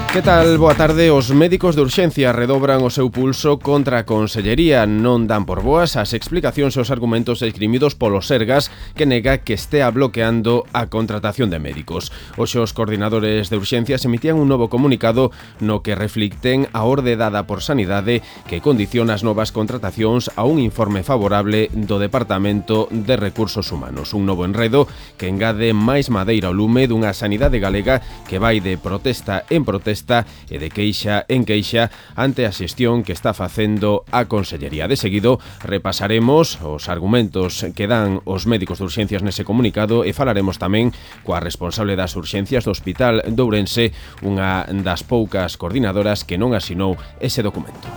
Que tal? Boa tarde. Os médicos de urxencia redobran o seu pulso contra a Consellería. Non dan por boas as explicacións e os argumentos esgrimidos polo Sergas, que nega que estea bloqueando a contratación de médicos. Hoxe os coordinadores de urxencias emitían un novo comunicado no que reflicten a orde dada por Sanidade que condiciona as novas contratacións a un informe favorable do Departamento de Recursos Humanos. Un novo enredo que engade máis madeira ao lume dunha sanidade galega que vai de protesta en protesta e de queixa en queixa ante a xestión que está facendo a Consellería. De seguido, repasaremos os argumentos que dan os médicos de urxencias nese comunicado e falaremos tamén coa responsable das urxencias do Hospital de Ourense, unha das poucas coordinadoras que non asinou ese documento.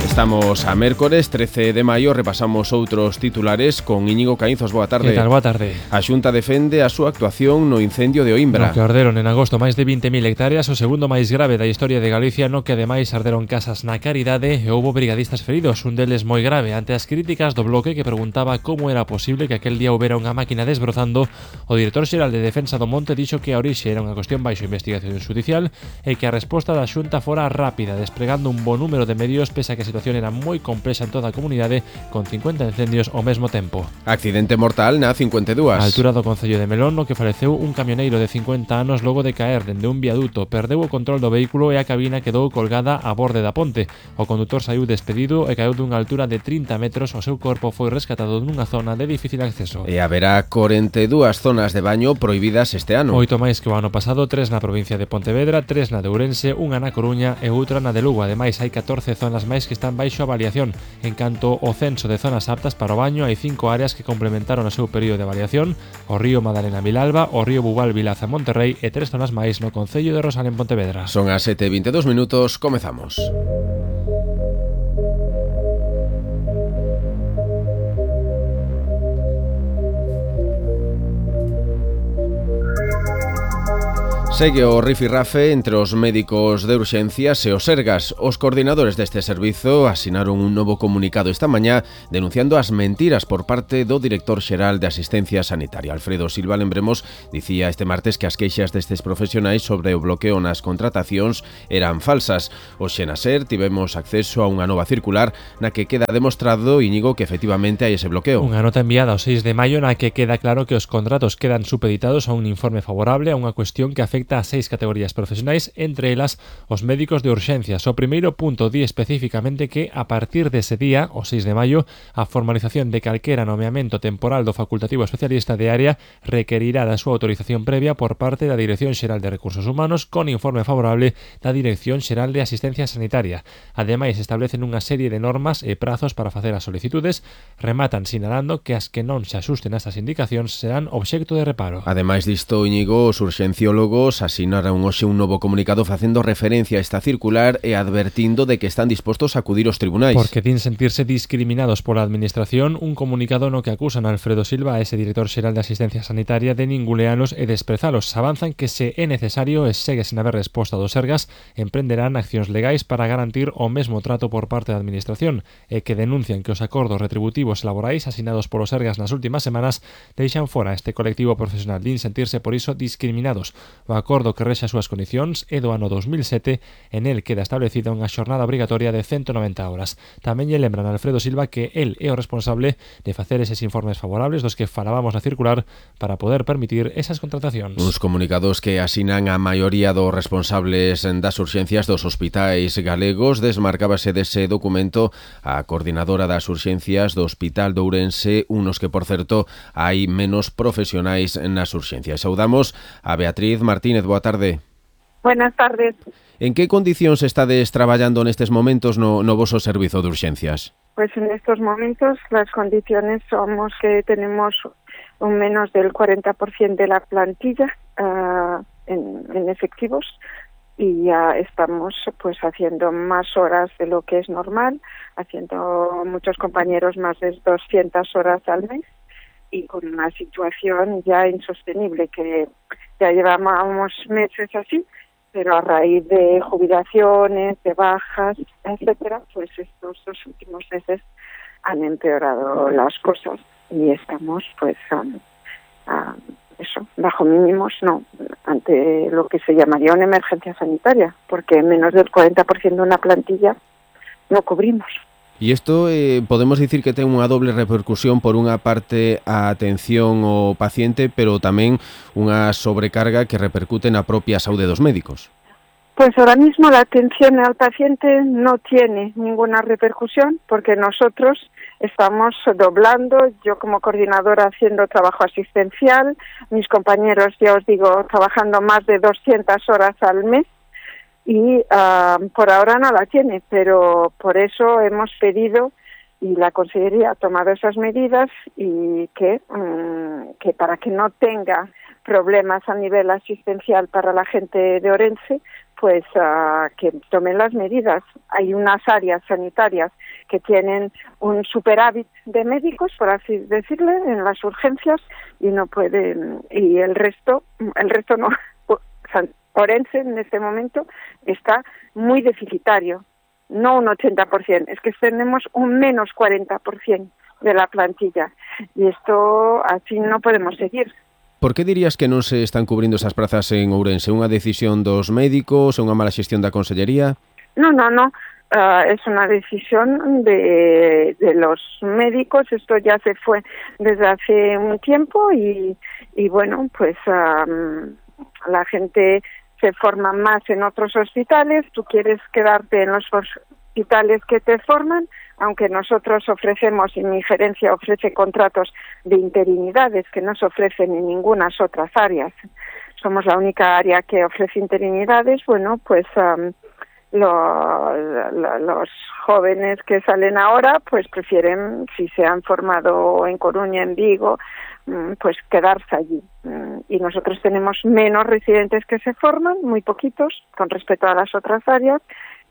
Estamos a mércores 13 de maio, repasamos outros titulares con Íñigo Caínzos. Boa tarde. Que tal? Boa tarde. A Xunta defende a súa actuación no incendio de Oimbra. No que arderon en agosto máis de 20.000 hectáreas, o segundo máis grave da historia de Galicia, no que ademais arderon casas na Caridade e houbo brigadistas feridos, un deles moi grave. Ante as críticas do Bloque que preguntaba como era posible que aquel día houbera unha máquina desbrozando, o director xeral de Defensa do Monte dixo que a orixe era unha cuestión baixo investigación judicial e que a resposta da Xunta fora rápida, desplegando un bo número de medios pese a que a situación era moi complexa en toda a comunidade, con 50 incendios ao mesmo tempo. Accidente mortal na 52. A altura do concello de Melón, no que faleceu un camioneiro de 50 anos logo de caer dende un viaduto, perdeu o control do vehículo e a cabina quedou colgada a borde da ponte. O condutor saiu despedido e caeu dunha altura de 30 metros, o seu corpo foi rescatado nunha zona de difícil acceso. E haberá 42 zonas de baño prohibidas este ano. 8 máis que o ano pasado, 3 na provincia de Pontevedra, 3 na de Ourense, unha na Coruña e outra na de Lugo. Ademais, hai 14 zonas máis que están baixo avaliación. En canto ao censo de zonas aptas para o baño, hai 5 áreas que complementaron o seu período de avaliación: o río Madalena Vilalba, o río Bubal Vilaza Monterrey e 3 zonas máis no concello de Rosal en Pontevedra. Son as 7:22 minutos, comezamos. Segue o rifirrafe entre os médicos de urxencias e os Sergas. Os coordinadores deste servizo asinaron un novo comunicado esta mañá denunciando as mentiras por parte do director xeral de Asistencia Sanitaria. Alfredo Silva, lembremos, dicía este martes que as queixas destes profesionais sobre o bloqueo nas contratacións eran falsas. Hoxe na SER tivemos acceso a unha nova circular na que queda demostrado, Íñigo, que efectivamente hai ese bloqueo. Unha nota enviada o 6 de maio na que queda claro que os contratos quedan supeditados a un informe favorable a unha cuestión que afecta a 6 categorías profesionais, entre elas os médicos de urxencias. O primeiro punto di especificamente que a partir dese día, o 6 de maio, a formalización de calquera nomeamento temporal do facultativo especialista de área requerirá da súa autorización previa por parte da Dirección Xeral de Recursos Humanos con informe favorable da Dirección Xeral de Asistencia Sanitaria. Ademais, establecen unha serie de normas e prazos para facer as solicitudes, rematan sinalando que as que non se axusten a estas indicacións serán obxecto de reparo. Ademais disto, Íñigo, os urxenciólogos asinaron hoxe un novo comunicado facendo referencia a esta circular e advertindo de que están dispostos a acudir aos tribunais. Porque din sentirse discriminados pola administración, un comunicado no que acusan a Alfredo Silva, a ese director xeral de Asistencia Sanitaria, de ningulealos e desprezalos. Avanzan que se é necesario e segue sen haber resposta dos Sergas, emprenderán accións legais para garantir o mesmo trato por parte da administración e que denuncian que os acordos retributivos e laborais asinados polos Sergas nas últimas semanas deixan fora este colectivo profesional. Din sentirse por iso discriminados. O acordo que rexa as súas condicións é do ano 2007, en el queda establecida unha xornada obrigatoria de 190 horas. Tamén lle lembran a Alfredo Silva que el é o responsable de facer eses informes favorables dos que falábamos na circular para poder permitir esas contratacións. Uns comunicados que asinan a maioría dos responsables das urxencias dos hospitais galegos. Desmarcábase dese documento a coordinadora das urxencias do Hospital de Ourense, unos que, por certo, hai menos profesionais nas urxencias. Saudamos a Beatriz Martínez. Boa tarde. Buenas tardes. En que condicións estades traballando nestes momentos no voso servizo de urxencias? Pues en estos momentos las condiciones somos que tenemos un menos del 40% de la plantilla en efectivos y ya estamos pues haciendo más horas de lo que es normal, haciendo muchos compañeros más de 200 horas al mes y con una situación ya insostenible que ya llevamos meses así, pero a raíz de jubilaciones, de bajas, etcétera, pues estos 2 últimos meses han empeorado las cosas y estamos pues eso, bajo mínimos no, ante lo que se llamaría una emergencia sanitaria, porque menos del 40% de una plantilla no cubrimos. E isto podemos dicir que ten unha doble repercusión, por unha parte a atención ao paciente, pero tamén unha sobrecarga que repercute na propia saúde dos médicos. Pues ahora mismo la atención al paciente no tiene ninguna repercusión porque nosotros estamos doblando, yo como coordinadora haciendo trabajo asistencial, mis compañeros, ya os digo, trabajando más de 200 horas al mes, y por ahora no la tiene, pero por eso hemos pedido y la Consellería ha tomado esas medidas y que para que no tenga problemas a nivel asistencial para la gente de Ourense, pues que tomen las medidas. Hay unas áreas sanitarias que tienen un superávit de médicos, por así decirle, en las urgencias y no pueden, y el resto no. Ourense en este momento está muy deficitario, no un 80%, es que tenemos un menos 40% de la plantilla y esto así no podemos seguir. Por que dirías que non se están cubrindo esas prazas en Ourense? Unha decisión dos médicos, unha mala xestión da Consellería? No, es una decisión de los médicos, esto ya se fue desde hace un tiempo y bueno, pues la gente se forma más en otros hospitales, tú quieres quedarte en los hospitales que te forman, aunque nosotros ofrecemos, y mi gerencia ofrece contratos de interinidades que no se ofrecen en ninguna otras áreas. Somos la única área que ofrece interinidades, bueno, pues los jóvenes que salen ahora pues prefieren, si se han formado en Coruña, en Vigo, pues quedarse allí. Y nosotros tenemos menos residentes que se forman, muy poquitos, con respecto a las otras áreas,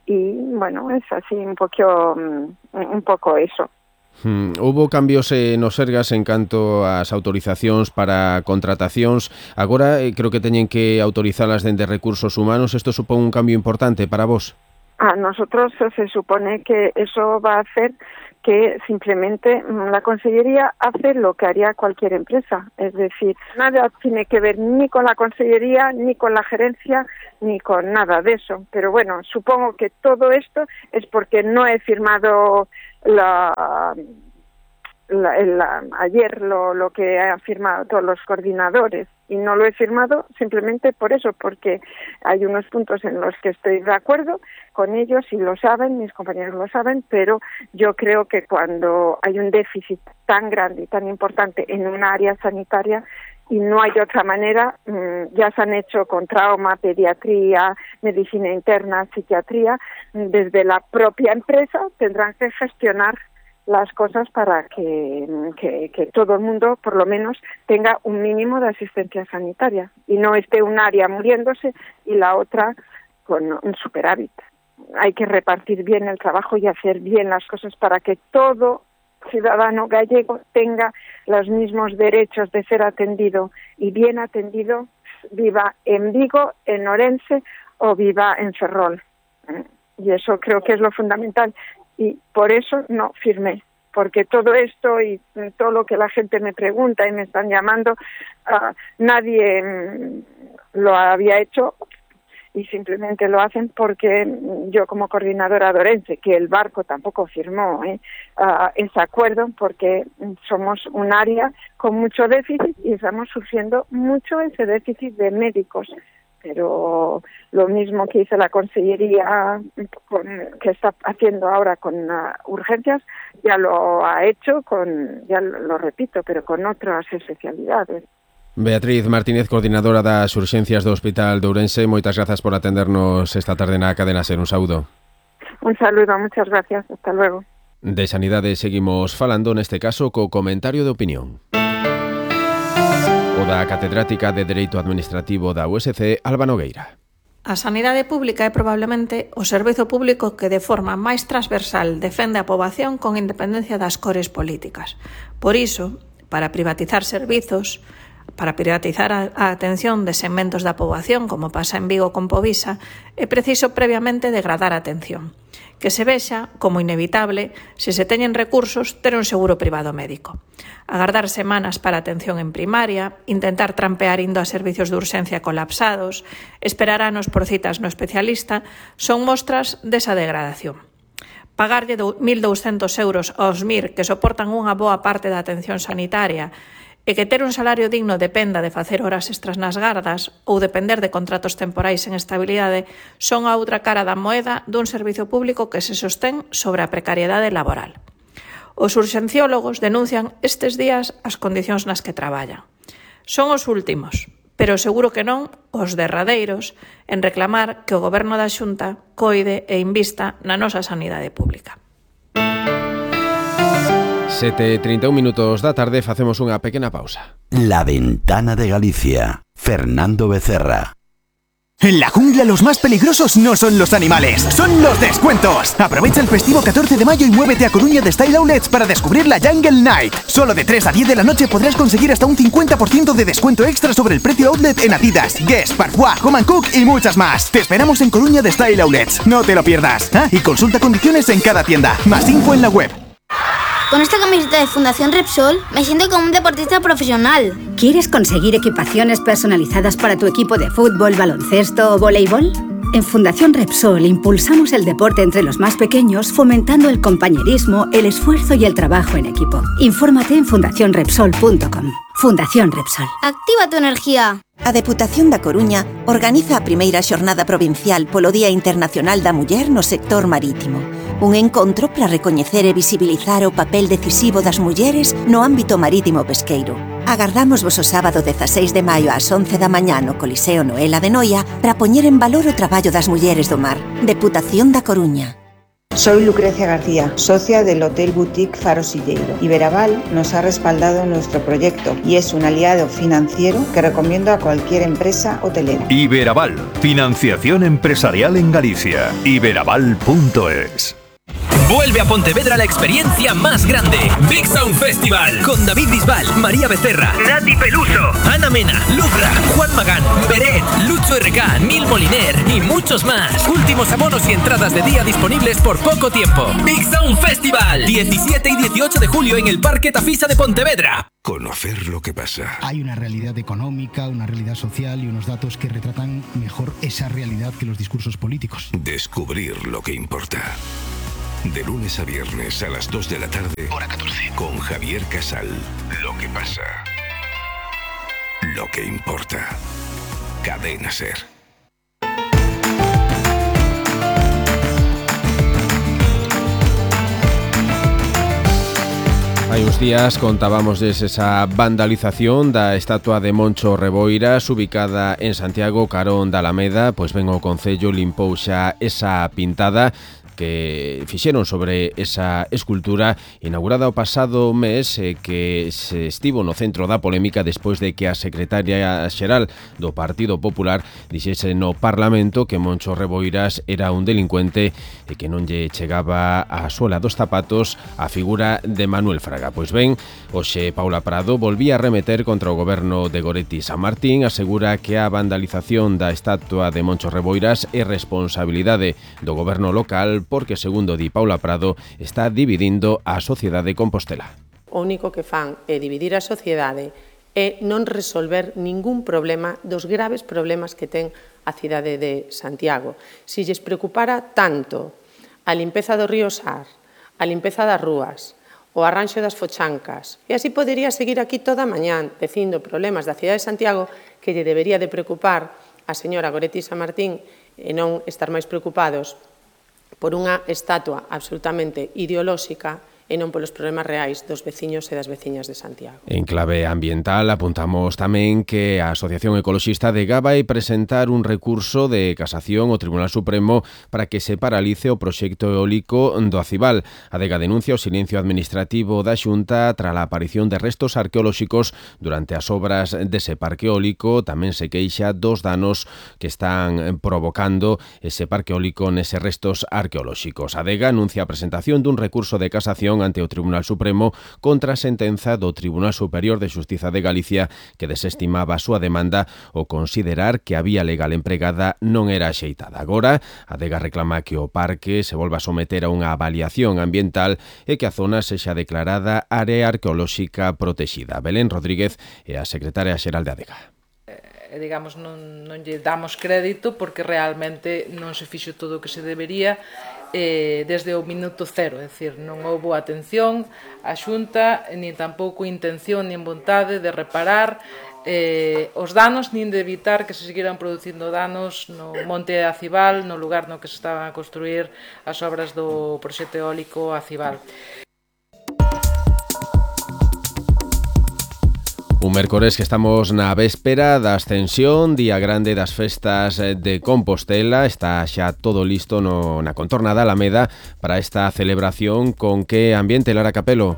y bueno, es así un poco eso. Houbo cambios nos Sergas en canto ás autorizacións para contratacións. Agora creo que teñen que autorizalas dende Recursos Humanos. Isto supón un cambio importante para vos? A nosotros se supone que eso va a hacer que simplemente la Consellería hace lo que haría cualquier empresa. Es decir, nada tiene que ver ni con la Consellería, ni con la gerencia, ni con nada de eso. Pero bueno, supongo que todo esto es porque no he firmado ayer lo que han firmado todos los coordinadores, y no lo he firmado simplemente por eso, porque hay unos puntos en los que estoy de acuerdo con ellos y lo saben, mis compañeros lo saben, pero yo creo que cuando hay un déficit tan grande y tan importante en una área sanitaria y no hay otra manera, ya se han hecho con trauma, pediatría, medicina interna, psiquiatría, desde la propia empresa tendrán que gestionar las cosas para que todo el mundo, por lo menos, tenga un mínimo de asistencia sanitaria y no esté un área muriéndose y la otra con un superávit. Hay que repartir bien el trabajo y hacer bien las cosas para que todo ciudadano gallego tenga los mismos derechos de ser atendido y bien atendido, viva en Vigo, en Ourense o viva en Ferrol. Y eso creo que es lo fundamental. Y por eso no firmé, porque todo esto y todo lo que la gente me pregunta y me están llamando, nadie lo había hecho y simplemente lo hacen porque yo como coordinadora de Ourense, que el barco tampoco firmó ese acuerdo, porque somos un área con mucho déficit y estamos sufriendo mucho ese déficit de médicos. Pero lo mismo que hizo la Consellería, que está haciendo ahora con urgencias, ya lo ha hecho ya lo repito, pero con otras especialidades. Beatriz Martínez, coordinadora das urxencias do Hospital de Ourense, moitas grazas por atendernos esta tarde na Cadena Ser. Un saúdo. Un saludo, muchas gracias. Hasta luego. De sanidade seguimos falando, neste caso, co comentario de opinión. O da catedrática de Dereito Administrativo da USC, Alba Nogueira. A sanidade pública é probablemente o servizo público que de forma máis transversal defende a poboación con independencia das cores políticas. Por iso, para privatizar servizos, Para privatizar a atención de segmentos da poboación, como pasa en Vigo con Povisa, é preciso previamente degradar a atención, que se vexa como inevitable, se se teñen recursos, ter un seguro privado médico. Agardar semanas para atención en primaria, intentar trampear indo a servicios de urxencia colapsados, esperar anos por citas no especialista, son mostras desa degradación. Pagarlle 1.200 euros aos MIR que soportan unha boa parte da atención sanitaria e que ter un salario digno dependa de facer horas extras nas gardas ou depender de contratos temporais en estabilidade son a outra cara da moeda dun servizo público que se sostén sobre a precariedade laboral. Os urxenciólogos denuncian estes días as condicións nas que traballan. Son os últimos, pero seguro que non os derradeiros en reclamar que o Goberno da Xunta coide e invista na nosa sanidade pública. 7:31 minutos da tarde, facemos unha pequena pausa. La Ventana de Galicia. Fernando Becerra. En la jungla los más peligrosos no son los animales, son los descuentos. Aprovecha el festivo 14 de mayo y muévete a Coruña de Style Outlets para descubrir la Jungle Night. Solo de 3 a 10 de la noche podrás conseguir hasta un 50% de descuento extra sobre el precio outlet en Adidas, Guess, Parfois, Home & Cook y muchas más. Te esperamos en Coruña de Style Outlets, no te lo pierdas. Y consulta condiciones en cada tienda. Más info en la web. Con esta camiseta de Fundación Repsol me siento como un deportista profesional. ¿Quieres conseguir equipaciones personalizadas para tu equipo de fútbol, baloncesto o voleibol? En Fundación Repsol impulsamos el deporte entre los más pequeños, fomentando el compañerismo, el esfuerzo y el trabajo en equipo. Infórmate en fundacionrepsol.com. Fundación Repsol. Activa tu energía. A Deputación da Coruña organiza a primeira xornada provincial polo Día Internacional da Muller no sector marítimo. Un encontro para recoñecer e visibilizar o papel decisivo das mulleres no ámbito marítimo pesqueiro. Agardamos vos o sábado 16 de maio ás 11 da mañá no Coliseo Noela de Noia para poñer en valor o traballo das mulleres do mar. Deputación da Coruña. Soy Lucrecia García, socia del Hotel Boutique Faro Silleiro. Iberaval nos ha respaldado en nuestro proyecto y es un aliado financiero que recomiendo a cualquier empresa hotelera. Iberaval, financiación empresarial en Galicia. Iberaval.es. Vuelve a Pontevedra la experiencia más grande. Big Sound Festival. Con David Bisbal, María Becerra, Nati Peluso, Ana Mena, Lubra, Juan Magán, Beret, Lucho RK, Nil Moliner y muchos más. Últimos abonos y entradas de día disponibles por poco tiempo. Big Sound Festival. 17 y 18 de julio en el Parque Tafisa de Pontevedra. Conocer lo que pasa. Hay una realidad económica, una realidad social y unos datos que retratan mejor esa realidad que los discursos políticos. Descubrir lo que importa. De lunes a viernes a las 2 de la tarde, hora 14, con Javier Casal. Lo que pasa. Lo que importa. Cadena SER. Hai uns días contábamosles esa vandalización da estatua de Moncho Reboiras ubicada en Santiago, carón da Alameda. Pois ben, o Concello limpou xa esa pintada que fixeron sobre esa escultura inaugurada o pasado mes, que se estivo no centro da polémica despois de que a secretaria xeral do Partido Popular dixese no Parlamento que Moncho Reboiras era un delincuente e que non lle chegaba a suela dos zapatos a figura de Manuel Fraga. Pois ben, hoxe Paula Prado volvía a remeter contra o goberno de Goretti San Martín, asegura que a vandalización da estatua de Moncho Reboiras é responsabilidade do goberno local porque, segundo di Paula Prado, está dividindo a sociedade compostela. O único que fan é dividir a sociedade e non resolver ningún problema dos graves problemas que ten a cidade de Santiago. Si lles preocupara tanto a limpeza do río Sar, a limpeza das rúas, o arranxo das fochancas, e así podería seguir aquí toda a mañán dicindo problemas da cidade de Santiago que lle debería de preocupar a señora Goretti San Martín e non estar máis preocupados por unha estatua absolutamente ideolóxica e non polos problemas reais dos veciños e das veciñas de Santiago. En clave ambiental apuntamos tamén que a Asociación Ecologista de vai presentar un recurso de casación ao Tribunal Supremo para que se paralice o proxecto eólico do Acibal. A Adega denuncia o silencio administrativo da Xunta tras a aparición de restos arqueolóxicos durante as obras dese parque eólico. Tamén se queixa dos danos que están provocando ese parque eólico neses restos arqueolóxicos. A Adega anuncia a presentación dun recurso de casación reclamación ante o Tribunal Supremo contra a sentenza do Tribunal Superior de Xustiza de Galicia que desestimaba a súa demanda ao considerar que a vía legal empregada non era axeitada. Agora, a Adega reclama que o parque se volva a someter a unha avaliación ambiental e que a zona sexa declarada área arqueolóxica protexida. Belén Rodríguez é a secretaria xeral de Adega. Digamos, non lle damos crédito porque realmente non se fixo todo o que se debería desde o minuto cero, é dicir, non houbo atención a Xunta, nin tampouco intención nin vontade de reparar os danos, nin de evitar que se seguiran producindo danos no Monte Acibal, no lugar no que se estaban a construir as obras do proxecto eólico Acibal. Un mércores que estamos na véspera da Ascensión, día grande das festas de Compostela. Está xa todo listo na contorna da Alameda para esta celebración. Con que ambiente, Lara Capelo?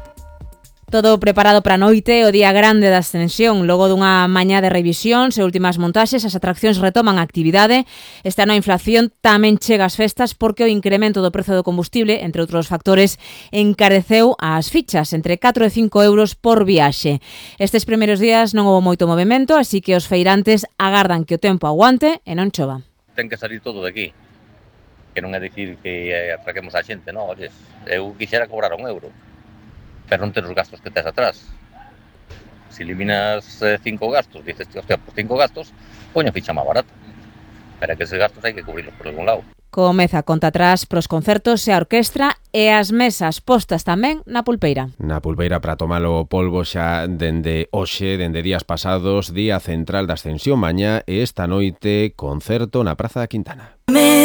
Todo preparado para a noite, o día grande da Ascensión. Logo dunha mañá de revisións e últimas montaxes, as atraccións retoman a actividade. Este ano a inflación tamén chega ás festas porque o incremento do prezo do combustible, entre outros factores, encareceu as fichas entre 4 e 5 euros por viaxe. Estes primeiros días non houve moito movimento, así que os feirantes agardan que o tempo aguante e non chova. Ten que salir todo de aquí, que non é dicir que atraquemos a xente, non, olles, eu quixera cobrar €1, pero non ter os gastos que tes atrás. Se eliminas 5 gastos, dices, hostia, por 5 gastos, poño a ficha máis barata. Pero é que eses gastos hai que cubrirlos por algún lado. Comeza a conta atrás pros concertos e a orquestra e as mesas postas tamén na Pulpeira. Na Pulpeira para tomar o polvo xa dende hoxe, dende días pasados, día central da Ascensión mañá e esta noite concerto na Praza da Quintana.